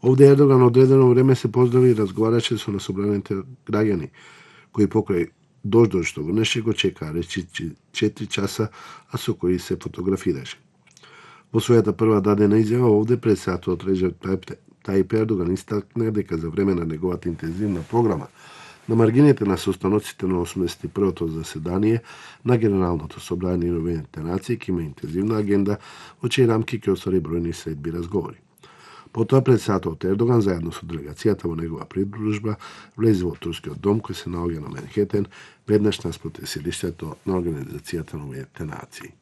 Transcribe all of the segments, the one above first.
Овде Ердоган одредено време се поздрави и разговараше со насобраните граѓани, кои покрај дождот што го неше го чекаа речиси 4 часа, а со кои се фотографираше. Во својата прва дадена изјава овде председателот Реджеп Тајип Ердоган истакна дека за време на неговата интензивна програма на маргините на состаноците на 81-то заседание на Генералното собрание на Обединетите нации ќе има интензивна агенда, во чии рамки ќе оствари бројни средби разговори. Потоа председателот Ердоган заедно со делегацијата во негова придружба влезе во турскиот дом кој се наоѓа на Манхетен, веднаш наспроти седиштето на Организацијата на Обединетите нации.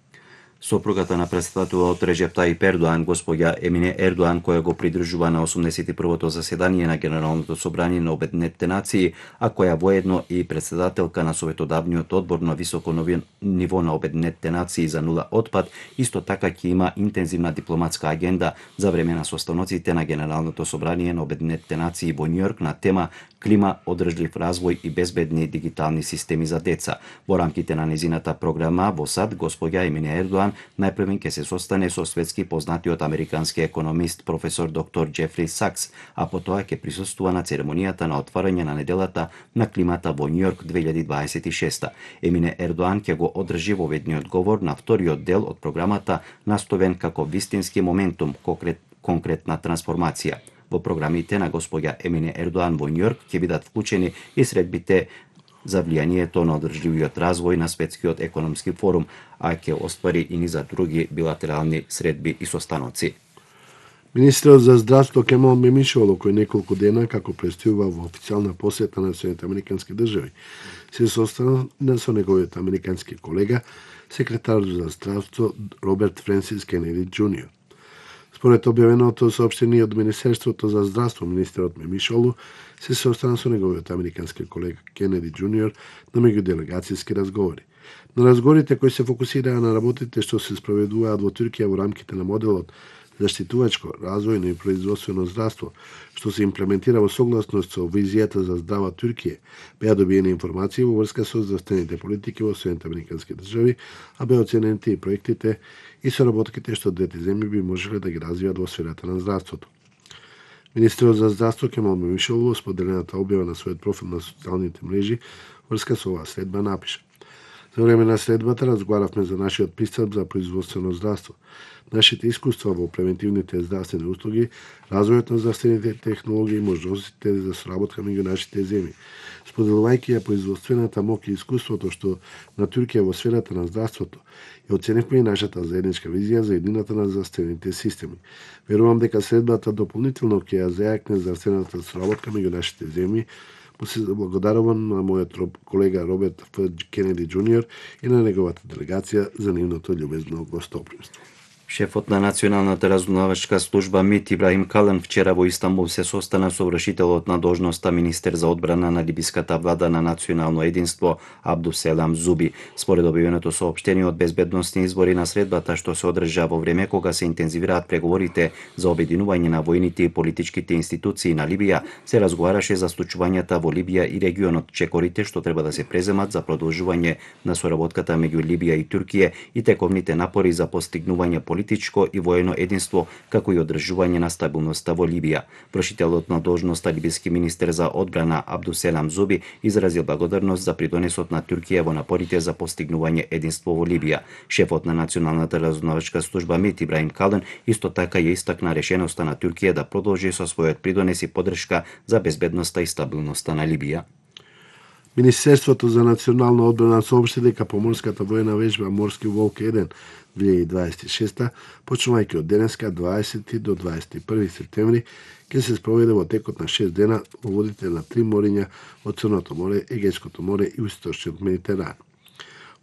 Сопругата на председателот Реджеп Тајип Ердоан, госпоѓа Емине Ердоан, која го придржува на 81-то заседание на Генералното собрание на Обединетите нации, а која воедно и председателка на Советодавниот одбор на високо ниво на Обединетите нации за нула отпад, исто така ќе има интензивна дипломатска агенда за време на состаноците на Генералното собрание на Обединетите нации во Њујорк на тема клима, одржлив развој и безбедни дигитални системи за деца. Во рамките на незината програма во САД, госпоѓа Емине Ердоан најпрвен ќе се состане со светски познатиот американски економист професор доктор Џефри Сакс, а потоа ќе присуствува на церемонијата на отварање на неделата на климата во Њујорк 2026. Емине Ердоан ќе го одржи воведниот говор на вториот дел од програмата наставен како вистински моментум, конкретна трансформација. Во програмите на госпоѓа Емине Ердоан во Њујорк ќе бидат вклучени и средбите за влијанието на одржливиот развој на Светскиот економски форум, а ќе оствари и низа други билатерални средби и состаноци. Министерот за здравство Кемал Мемишоло, кој неколку дена како престојува во официјална посета на Соединетите американски држави, се состана со неговиот американски колега, секретар за здравство Роберт Френсис Кенеди Џуниор. Според објавеното соопштение од Министерството за здравство, министерот Мемишолу се состана со неговиот американски колега Кенеди Џуниор на меѓуделегацијски разговори. На разговорите кои се фокусираа на работите што се спроведуваат во Туркија во рамките на моделот заштитувачко, развојно и производствено здравство, што се имплементира во согласност со визијата за здрава Туркија, беа добиени информации во врска со здравствените политики во Соединетите американски држави, а беа оценените и проектите и соработките што двете земји би можеле да ги развијат во сферата на здравството. Министерот за здравство Кемал Мемишолу споделената објава на својот профил на социјалните мрежи врска со оваа следба напиша: За време на следбата разговаравме за нашиот пристап за производствено здравство, нашите искуства во превентивните здравствени услуги, развојот на здравствените технологии и можностите за соработка меѓу нашите земји. Споделувајќи ја производствената моќ и искуството што на Туркија во сферата на здравството, ја оценивме и нашата заедничка визија за едината на здравствените системи. Верувам дека следбата дополнително ќе ја зајакне здравствената соработка меѓу нашите земји. Се благодарувам на мојот колега Роберт Ф. Кенеди Џуниор и на неговата делегација за нивното љубезно гостопримство. Шефот на Националната разузнавачка служба МИТ Ибрахим Калан вчера во Истанбул се состана со вршителот на должноста министер за одбрана на либиската влада на национално единство Абдуселам Зуби. Според објавеното соопштение од безбедносни избори на средбата што се одржа во време кога се интензивираат преговорите за обединување на војните и политичките институции на Либија, се разговараше за случувањата во Либија и регионот, чекорите што треба да се преземат за продолжување на соработката меѓу Либија и Туркија и тековните напори за постигнување политичко и воено единство, како и одржување на стабилноста во Либија. Вршителот на должноста либиски министер за одбрана Абдуселам Зуби изразил благодарност за придонесот на Туркија во напорите за постигнување единство во Либија. Шефот на Националната разузнавачка служба МИТ Ибрахим Калан исто така ја истакна решеноста на Туркија да продолжи со својот придонес и поддршка за безбедноста и стабилноста на Либија. Министерството за национална одбрана соопшти дека поморската воена вежба Морски волк 1 2026, почнувајќи од денеска 20 до 21 септември, ќе се спроведе во текот на 6 дена во водите на 3 мориња од Црното море, Егејското море и Источниот Медитеран.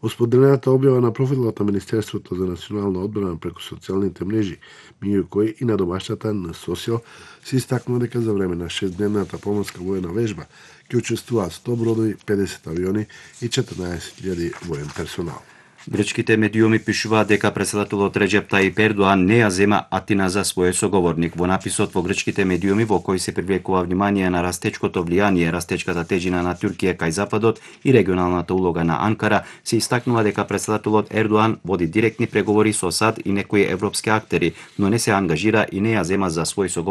Во споделената објава на профилот на Министерството за национална одбрана преку социјалните мрежи, меѓу кои и на домашната на Социјал, се истакнува дека за време на 6-дневната поморска воена вежба ќе учествуваат 100 бродови, 50 авиони и 14.000 воен персонал. Грчките медиуми пишуваат дека председателот Реджеп Тајип Ердоан не ја зема Атина за свој соговорник. Во написот во грчките медиуми во кој се привлекува внимание на растечкото влијание, растечката тежина на Туркија кај Западот и регионалната улога на Анкара, се истакнува дека председателот Ердоан води директни преговори со САД и некои европски актери, но не се ангажира и не ја зема за свој соговорник